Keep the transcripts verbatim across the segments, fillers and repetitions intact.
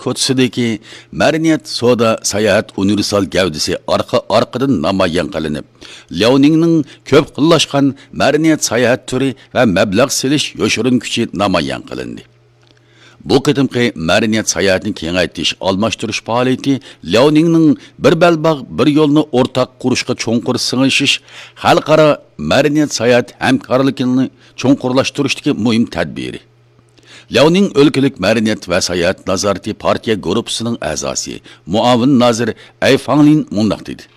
كوچىسىدىكى مەدەنىيەت، سودا، ساياھەت ئۇنىۋېرسال گەۋدىسى ئارقا-ئارقىدىن نامايان قىلىنىپ، لياۋنىڭنىڭ كۆپ خىللاشقان مەدەنىيەت ساياھەت تۈرى ۋە مەبلەغ سېلىش يوشۇرۇن كۈچى نامايان قىلىندى. بۇ قېتىمقى مەدەنىيەت ساياھەتنى كېڭەيتىش، ئالماشتۇرۇش پائالىيىتى لياۋنىڭنىڭ بىر بەلباغ، بىر يولنى ئورتاق قۇرۇشقا چوڭقۇر سىڭىشىش خەلقئارا مەدەنىيەت ساياھەت ھەمكارلىقىنى چوڭقۇرلاشتۇرۇشتىكى مۇھىم تەدبىرى. لياۋنىڭ ئۆلكىلىك مەدەنىيەت ۋە ساياھەت نازارىتى پارتىيە گۇرۇپپىسىنىڭ ئەزاسى، مۇئاۋىن نازىر ئەي فاڭلىن مۇنداق دېدى: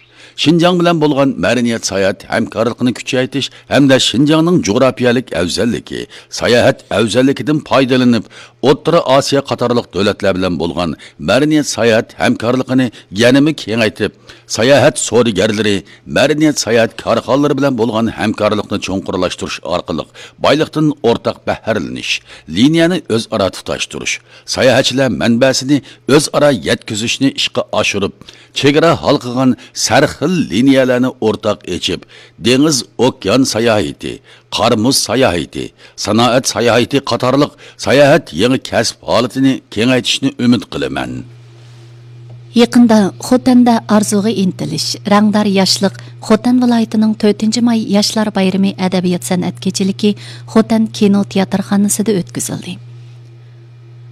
شىنجاڭ بىلەن بولغان مەدەنىيەت ساياھەت ھەمكارلىقىنى كۈچەيتىش ھەمدە شىنجاڭنىڭ جۇغراپىيەلىك ئەۋزەللىكى، ساياھەت ئەۋزەللىكىدىن پايدىلىنىپ، ئوتتۇرا ئاسىيا قاتارلىق دۆلەتلەر بىلەن بولغان مەدەنىيەت ساياھەت ھەمكارلىقىنى يەنىمۇ كېڭەيتىپ، ساياھەت سودىگەرلىرى، مەدەنىيەت ساياھەت كارخانىلىرى بىلەن بولغان ھەمكارلىقنى چوڭقۇرلاشتۇرۇش ئارقىلىق بايلىقتىن ئورتاق بەھرىلىنىش، لىنىيەنى ئۆزئارا تۇتاشتۇرۇش، ساياھەتچىلەر مەنبەسىنى ئۆزئارا يەتكۈزۈشنى ئىشقا ئاشۇرۇپ، چېگرا ھالقىغان سەرخىل لىنىيەلەرنى ئورتاق ئېچىپ، دېڭىز، ئوكيان ساياھىتى، قار مۇز ساياھىتى، سانائەت ساياھىتى قاتارلىق ساياھەت يېڭى كەسىپ ھالىتىنى كېڭەيتىشنى ئۈمىد قىلىمەن. يېقىندا خوتەندە ئارزۇغا ئىنتىلىش، رەڭدار ياشلىق، خوتەن ۋىلايىتىنىڭ تۆتىنچى ماي ياشلار بايرىمى ئەدەبىيات سەنئەت كېچىلىكى خوتەن كىنو تىياتىرخانىسىدا ئۆتكۈزۈلدى.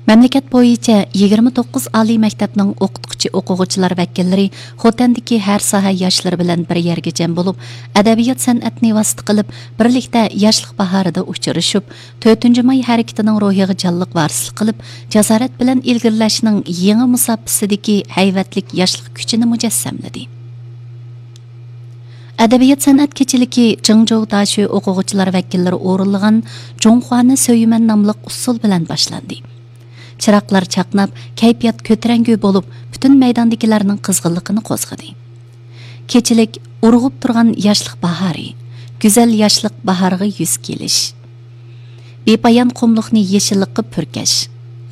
مەملىكەت بويىچە يىگىرمە توققۇز ئالىي مەكتەپنىڭ ئوقۇتقۇچى، ئوقۇغۇچىلار ۋەكىللىرى خوتەندىكى ھەر ساھە ياشلىرى بىلەن بىر يەرگە جەم بولۇپ، ئەدەبىيات سەنئەتنى ۋاسىتە قىلىپ، بىرلىكتە ياشلىق باھارىدا ئۇچرىشىپ، تۆتىنچى ماي ھەرىكىتىنىڭ روھىغا جانلىق ۋارىسلىق قىلىپ، جاسارەت بىلەن ئىلگىرىلەشنىڭ يېڭى مۇساپىسىدىكى ھەيۋەتلىك ياشلىق كۈچىنى مۇجەسسەملىدى. ئەدەبىيات سەنئەت كېچىلىكى جىڭجوۋ داشۆ ئوقۇغۇچىلار ۋەكىللىرى ئورۇنلىغان جۇڭخۇانى سۆيىمەن ناملىق ئۇسسۇل بىلەن باشلاندى. چىراغلار چاقناپ، كەيپىيات كۆتۈرەڭگۈ بولۇپ، پۈتۈن مەيداندىكىلەرنىڭ قىزغىنلىقىنى قوزغىدى. كېچىلىك ئۇرغۇپ تۇرغان ياشلىق باھارى، گۈزەل ياشلىق باھارىغا يۈز كېلىش. بىپايان قۇملۇقنى يېشىللىققا پۈركەش،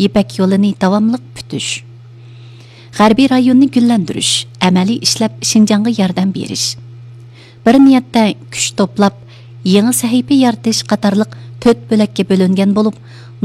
يىپەك يولىنى داۋاملىق پۈتۈش. غەربىي رايوننى گۈللەندۈرۈش، ئەمەلىي ئىشلەپ شىنجاڭغا ياردەم بېرىش. بىر نىيەتتە كۈچ توپلاپ، يېڭى سەھىپە يارىتىش قاتارلىق تۆت بۆلەككە بۆلۈنگەن بولۇپ،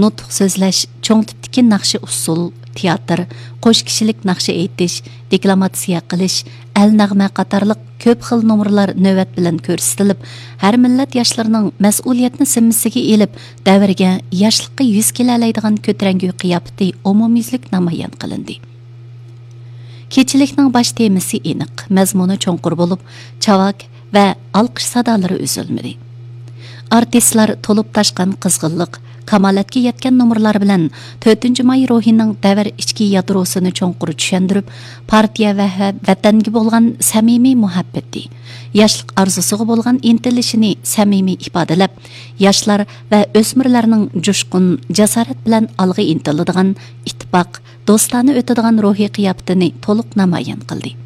نۇتۇق سۆزلەش، چوڭ تىپتىكى ناخشا ئۇسسۇل، تىياتىر، قوش كىشىلىك ناخشا ئېيتىش، دېكلاماتسىيە قىلىش، ئەل نەغمە قاتارلىق كۆپ خىل نومۇرلار نۆۋەت بىلەن كۆرسىتىلىپ، ھەر مىللەت ياشلىرىنىڭ مەسئۇلىيەتنى زىممىسىگە ئېلىپ، دەۋرگە، ياشلىققا يۈز كېلەلەيدىغان كۆتۈرەڭگۈ قىياپىتى ئومۇميۈزلۈك نامايان قىلىندى. كېچىلىكنىڭ باش تېمىسى ئېنىق، مەزمۇنى چوڭقۇر بولۇپ، چاۋاك ۋە ئالقىش سادالىرى ئۈزۈلمىدى. ئارتىسلار تولۇپ تاشقان قىزغىنلىق، كامالەتكە يەتكەن نومۇرلار بىلەن تۆتىنچى ماي روھىنىڭ دەۋر ئىچكى يادروسىنى چوڭقۇر چۈشەندۈرۈپ، پارتىيە ۋە ۋەتەنگە بولغان سەمىمىي مۇھەببىتى، ياشلىق ئارزۇسىغا بولغان ئىنتىلىشىنى سەمىمىي ئىپادىلەپ، ياشلار ۋە ئۆسمۈرلەرنىڭ جۇشقۇن، جاسارەت بىلەن ئالغا ئىنتىلىدىغان، ئىتتىپاق، دوستانە ئۆتىدىغان روھىي قىياپىتىنى تولۇق نامايان قىلدى.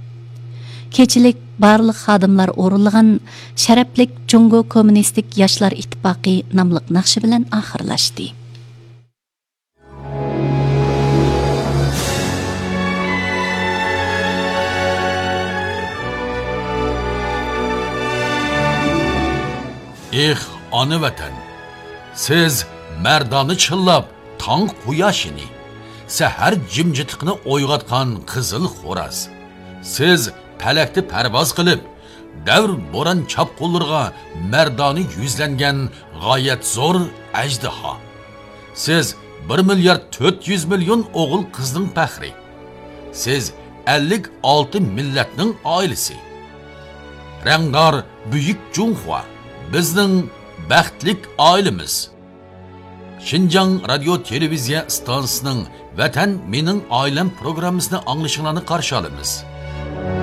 كېچىلىك بارلىق خادىملار ئورۇنلىغان شەرەپلىك جۇڭگو كوممۇنىستىك ياشلار ئىتتىپاقى ناملىق ناخشا بىلەن ئاخىرلاشتى. ئېھ، ئانا ۋەتەن! سىز مەردانە چىللاپ، تاڭ قۇياشىنى، سەھەر جىمجىتلىقىنى ئويغاتقان قىزىل خوراز. سىز پەلەكتە پەرۋاز قىلىپ، دەۋر بوران چاپقۇنلىرىغا مەردانە يۈزلەنگەن غايەت زور ئەجدىھا. سىز بىر مىليارد تۆت يۈز مىليون ئوغۇل-قىزنىڭ پەخرى. سىز ئەللىك ئالتە مىللەتنىڭ ئائىلىسى. رەڭدار بۈيۈك جۇڭخۇا، بىزنىڭ بەختلىك ئائىلىمىز. شىنجاڭ رادىيو تېلېۋىزىيە ئىستانسىسىنىڭ ۋەتەن مېنىڭ ئائىلەم پروگراممىسىنى ئاڭلىشىڭلارنى قارشى ئالىمىز.